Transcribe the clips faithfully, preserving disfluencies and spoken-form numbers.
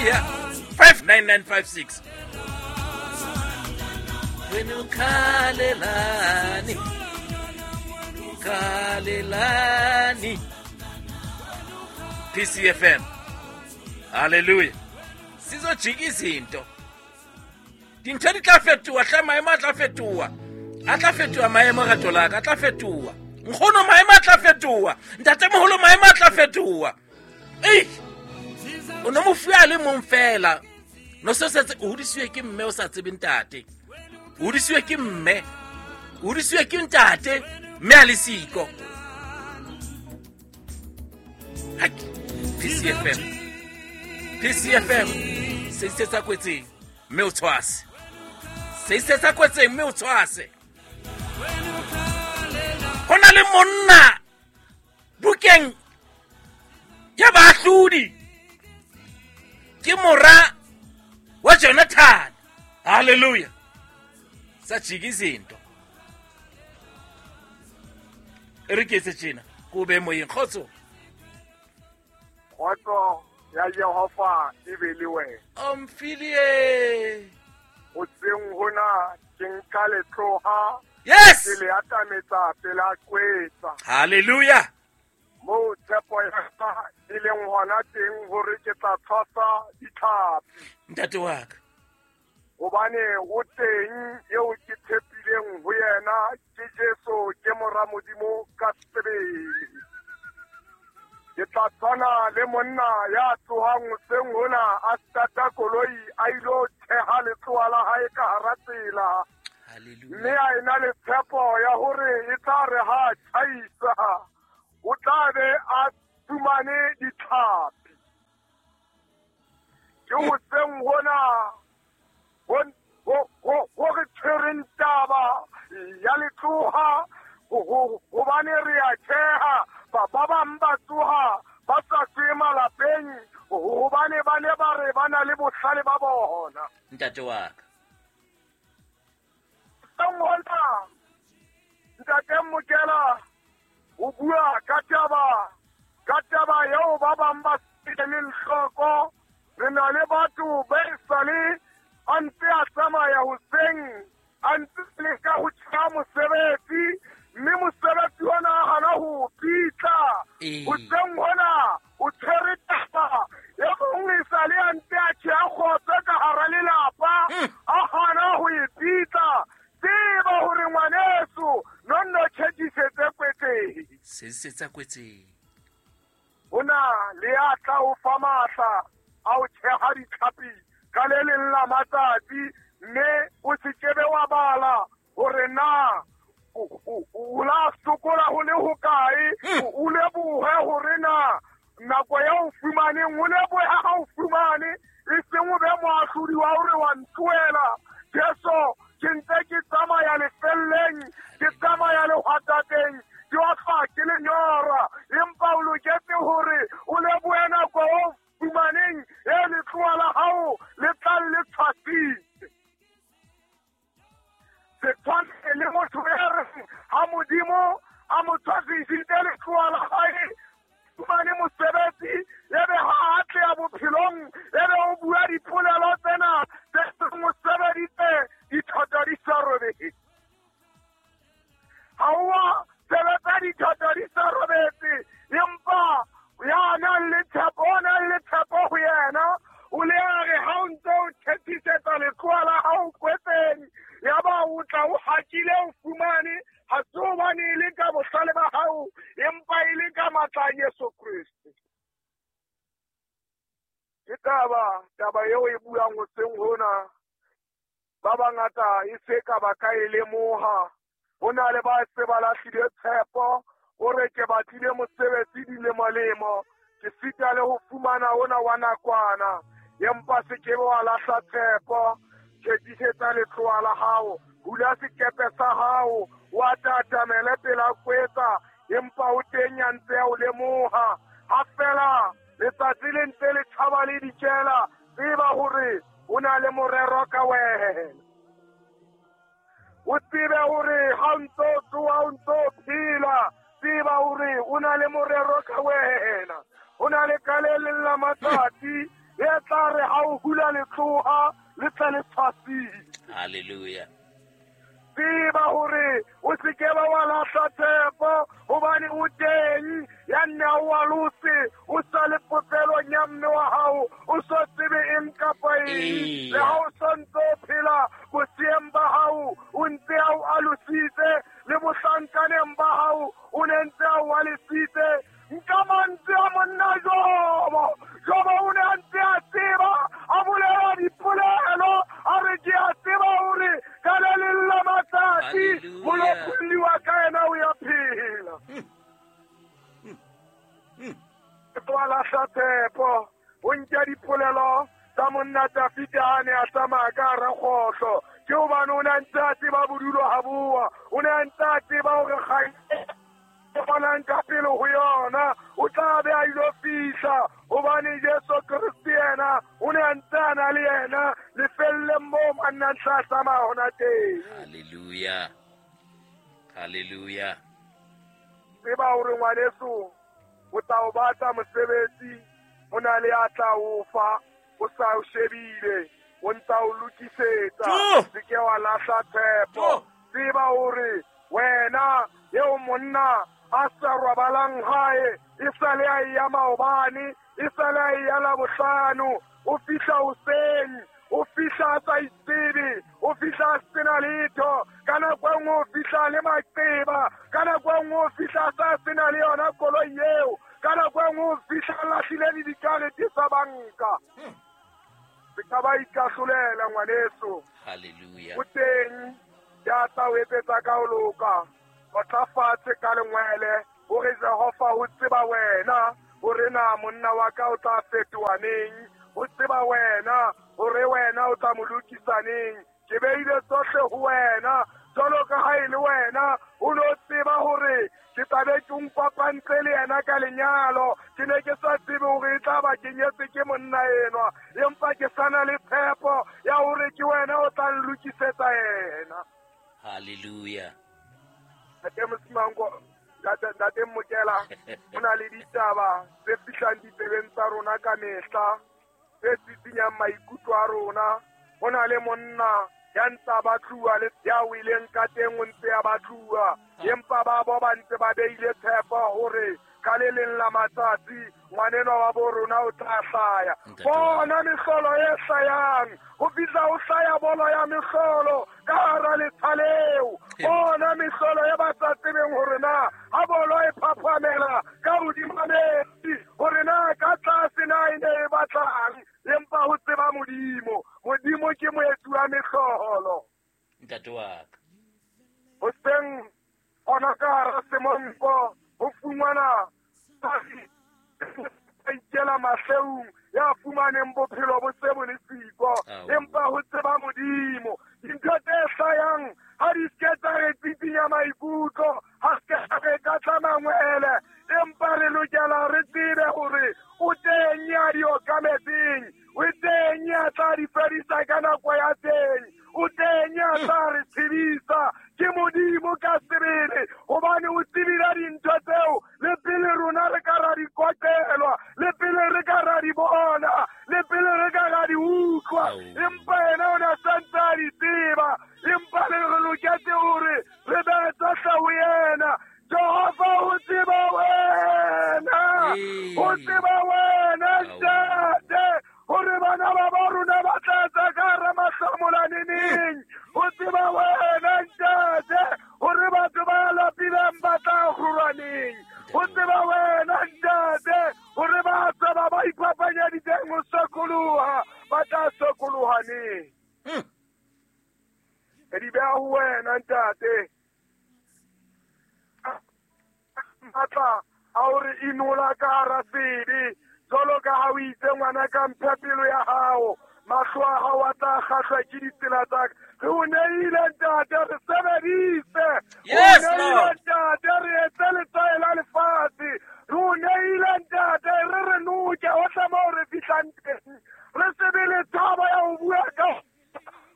Hallelujah. five nine nine five six. Wena ukhalelani? Ukhalelani? P C F M. Hallelujah. Sizojika izinto. Dintho di tla fetoha, hle, maemo a tla fetoha. A tla fetoha maemo, rato la ka, a tla fetoha. Nkgono, maemo a tla fetoha. Ntatemoholo, maemo a tla fetoha. Ei! O no mofu a le mong fela. No se setse o hodisiwe ke mme, o sa tsebe ntate. O hodisiwe ke mme. O hodisiwe ke ntate, mme a le siko. Hak. P C F M. P C F M. Se se tsa kwetseng mme o tshwase. Se se tsa kwetseng mme o tshwase. Ho na le monna bukeng ya Baahlodi, ke mora wa Jonathan. Hallelujah. Sajika izinto. E re ke etse tjena ko be moyeng. Kgotso. Kgotso ya Jehova e be le wena. Omfilie. Hoseng hona ke nka letloha, yes ke le atametsa pela kwetsa. Hallelujah. Moo tshepo ya ka e leng hona teng hore ke tla tshwasa ditlhapi. Ntate wa ka. Hobane o teng eo ke tshepileng ho yena, ke Jesu, ke mora Modimo ka sebele. Ke tla tshwana le monna ya tsohang hoseng hona, a stata koloi, a ilo theha letloa la hae ka hara tsela, mme Hallelujah. a ena le tshepo ya hore e tla re ha tjhaisa, o tla be a fumane ditlhapi. Ke hoseng hona ho- ho ho- ho re tshwereng taba ya letloha, ho- ho- hobane re a tjheha. ba ba bang ba tsoha ba sa tswe malapeng hobane ba ne ba re ba na le bohlale ba bona. Ntate wa ka. Hona ntate Mokela o bua ka taba ka taba eo ba bang ba eleng hloko. Re na le batho ba e sale a ntse a tsamaya hoseng, a ntse leka ho tjha mosebetsi, mme mosebetsi ona a hana ho pitla. Ee. Hoseng hona o tshwere taba e mong e sale a ntse a tjheha kgotso ka hara lelapa, Mm. a hana ho e pitla. Tseba hore ngwaneso nonno tjhekisetse kwetseng. Se se tsa kwetseng. Ho na le ya tla o fa matla a o tjheha ditlhapi ka le leng la matsatsi, mme o se kebe wa bala hore na o o- o la sokola ho le hokae. Mm. o o lebohe hore na nako ya o fumaneng, o lebohe ha o fumane, e seng o be moahlodi wa hore wa ntlohela Jesu, ke ntse ke tsamaya lefelleng, ke tsamaya lehwatateng, ke otlwa ke lenyora. Empa o loketse hore o lebohe nako o fumaneng e letloa la hao le tlang le tshwasitse. Se tshwane le motho ya reng ha Modimo a mo tshwasisitse letloa la hae, fumane mosebetsi, ebe ha a atleha bophelong, ebe o bua dipolelo tsena tse seng o sebeditse dithoto di sa robetse. Ha o a sebetsa dithoto di sa robetse, empa ya nang le tshepo, o nang le tshepo ho yena, o le a re ha o ntse o thethisetsa letloa la hao kwetseng, yaba o tla o hakile, o fumane, ha se hobane e le ka bohlale ba hao, empa e le ka matla a Jesu Kreste. Ke taba taba eo e buang hoseng hona. Ba bangata e se ka ba ka e lemoha. Ho na le ba se ba lahlile tshepo, o re ke batlile mosebetsi dilemo-lemo, ke sita le ho fumana ona wa nakwana. Empa se ke be wa lahla tshepo. Tjhekisetsa letloa la hao, hula sekepe sa hao, wa tatamele pela kwetsa, empa o teng ya ntse ya o lemoha. Ha fela letsatsi le ntse le tjhaba le dikela, tseba hore o na le morero ka wena. O tsebe hore ha o ntso tsoha, o ntso phela, tseba hore o na le morero ka wena. O na le ka le leng la matsatsi E tla re ha o hula letloha le tle le tshwasile. Hallelujah. Tseba hore o se ke ba wa lahla tshepo, hobane o teng ya nne a o alose, o sa le popelong ya mme wa hao, o so tsebe eng kapa eng. Le ha o sontse o phela boseyeng ba hao, o ntse a o alositse, le bohlankaneng ba hao, o ne ntse a o alositse. Nka mantswe a monna Jobo, Jobo o ne a ntse a tseba, a bolela dipolelo, a re ke a tseba hore ka le leng la matsatsi molopolli wa ka yena o ya phela. Ke wa lahla tshepo, o nke dipolelo tsa monna Dafida a ne a tsamaya ka hara kgohlo. Ke hobane o ne a ntse a tseba bodulo ha boa, o ne a ntse a tseba hore kgang bonang ka pele ho yona o tla be a ilo fihla, hobane Jesu Kreste yena o ne a ntse a na le yena lefelleng moo manna tla tsamaya hona teng. Hallelujah. Hallelujah. Tseba hore ngwaneso o tla o batla mosebetsi, o na le a tla o fa, o sa o shebile, o ntsa o lokisetsa, se ke wa lahla tshepo. Tseba hore wena eo monna a sa robalang hae, e sa le a ya maobane, e sa le a ya Labohlano, o fihla hoseng, o fihla a sa itsebe, o fihla a sena letho, ka nako e nngwe o fihla le maqeba, ka nako e nngwe o fihla a sa sena le yona koloi eo, ka nako e nngwe o fihla a lahlile le dikarete tsa banka. Se ka ba ikahlolela ngwaneso. Hallelujah. O teng ya tla o etsetsa ka ho loka. O tla fatshe ka lengwele, hore Jehova ho tseba wena hore na monna wa ka o tla fetoha neng, ho tseba wena hore wena o tla mo lokisa neng. Ke beile tsohle ho wena, jwalo ka ha e le wena o no tseba hore ke tla be ke npapantse le yena ka lenyalo. Ke ne ke sa tsebe hore e tla ba ke nyetse ke monna enwa, empa ke sa na le tshepo ya hore ke wena o tla nlokisetsa yena. Hallelujah. Ntate Mosimango, ntate Mokela, ho na le ditaba tse fihlang ditsebeng tsa rona ka mehla, tse tsitsinyang maikutlo a rona. Ho na le monna ya ntsa batluwa le ya weleng ka teng o ntse a batluwa, empa ba bo ba ntse ba beile tshepo hore ka le leng la matsatsi ngwanenwa wa bo rona o tla hlaya. Bona mehlolo e hlayang, ho fihla ho hlaya bolo ya mehlolo ka hara letsha leo. Bona mehlolo e ba sa tsebeng hore na ha bolo e phaphamela ka hodima metsi, hore na ka tlase na e ne e batlang, empa ho tseba Modimo. Modimo ke moetsi wa mehlolo. Ntate wa ka. Hoseng hona ka hara semonko ho fumana a ikela mahleung ya fumaneng bophelo bo se bo le siko, empa ho tseba Modimo. Dintho tse hlayang ha di se tsa re tsitsinya maikutlo, ha se re ka tla mangwele, empa re lokela re tsebe hore o teng ya di okametseng, o teng ya tla di fedisa ka nako ya teng, o teng ya tla re tshedisa. Ke Modimo ka sebele, hobane o tsebile dintho tseo le pele rona re ka ra di kotelwa, le pele re ka ra di bona, le pele re ka ra di utlwa, empa yena o ne a santse a di tseba. Empa le re loketse hore re behe tsohle ho yena. Jehova o tseba wena, o tseba wena ntate, hore bana ba ba rona ba tla tsa ka hara mahlomola neneng. O tseba wena ntate, hore batho ba lapileng ba tla kgorwa neng. O tseba wena ntate, hore ba tseba ba iphapanyeditseng ho sokoloha ba tla sokoloha neng. Re di beha ho wena ntate. Matla a hore inola ka hara sebe, jwalo ka ha o itse ngwana ka mphe pelo ya hao, mahlo a hao a tla kgahlwa ke ditsela tsa ka. Re o neile ntate, re sebedise. Yes, O neile ntate, re etse letsae la lefatshe. Re o neile ntate, re re noke hohle moo re fihlang teng. Re se be le tshabo ya ho bua ka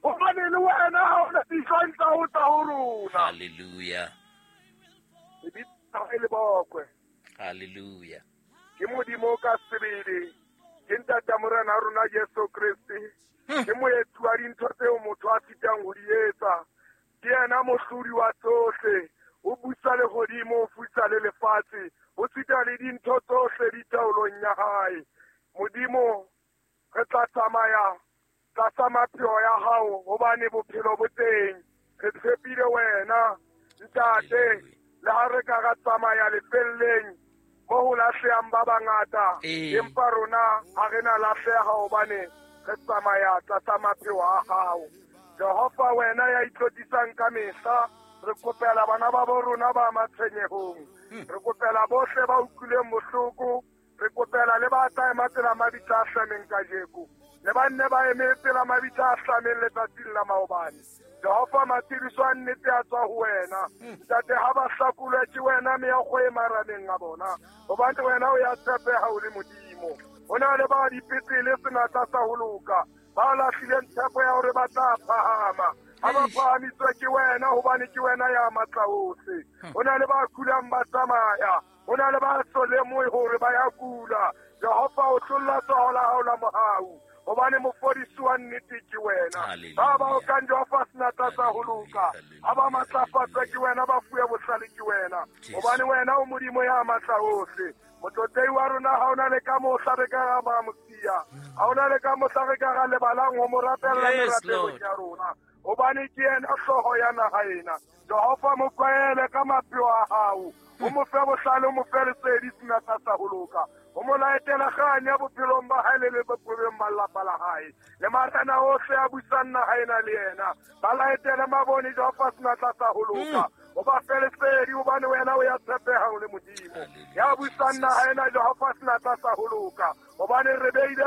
hobane le wena ha o na dihlong tsa ho tla ho rona. Hallelujah. Lebitso le bokwe. Hallelujah. Ke Modimo ka sebele, ke Ntate Morena rona Kreste. Ke moetsi wa dintho tseo motho a sitang ho di etsa. Ke yena mohlodi wa tsohle. O busa lehodimo, o fusa le lefatshe. O sita le dintho tsohle di taolong ya hae. Modimo, re tla tsamaya tlasa mapheo ya hao hobane bophelo bo teng. Re tshepile wena, ntate, le ha re ka ra tsamaya lefelleng mo ho lahlehang ba bangata, empa rona ha re na lahleha hobane re tsamaya tlasa mapheo a hao. Jehova, wena ya itlotlisang ka mehla, re kopela bana ba bo rona ba matshwenyehong. Re kopela bohle ba utlwileng bohloko. Re kopela le ba tla ema pela mabitla a hlameng kajeko, le ba nne ba eme pela mabitla a hlameng letsatsing la maobane. Jehova, matshediso a nnete a tswa ho wena. Ntate, ha ba hlakolwe ke wena meokgo e marameng a bona, hobane wena o ya tshepeha o le Modimo. Ho na le ba dipetlele senatla sa ho loka, ba lahlileng tshepo ya hore ba tla phahama. Ha ba phahamiswe ke wena, hobane ke wena ya matla ohle. Ho na le ba kulang ba tsamaya, ho na le ba so lemohe hore ba ya kula. Jehova, o hlolla tsoho la hao la mohau, hobane mofodisi wa nnete ke wena. Ba ba okang Jehova senatla sa ho loka, ha ba matlafatswe ke wena, ba fuwe bohlale ke wena, hobane wena o Modimo ya matla ohle. Motlotlei wa rona ha ona le ka mohla re ka ra ba mosiya, ha ona le ka mohla re ka ra lebalang ho mo rapella merapelong ya rona, hobane ke yena hlooho ya naha ena. Jehova, mo tlwaele ka mapheo a hao, o mo fe bohlale, o mo fe lesedi senatla sa ho loka, o mo laetela kganya bophelong ba hae le le bophelong ba lelapa la hae, le marena ohle a busang naha ena le yena. Ba laetele mabone Jehova senatla sa ho loka, o ba fe lesedi, hobane wena o ya tshepeha o le Modimo ya busang naha ena. Jehova senatla sa ho loka, hobane re beile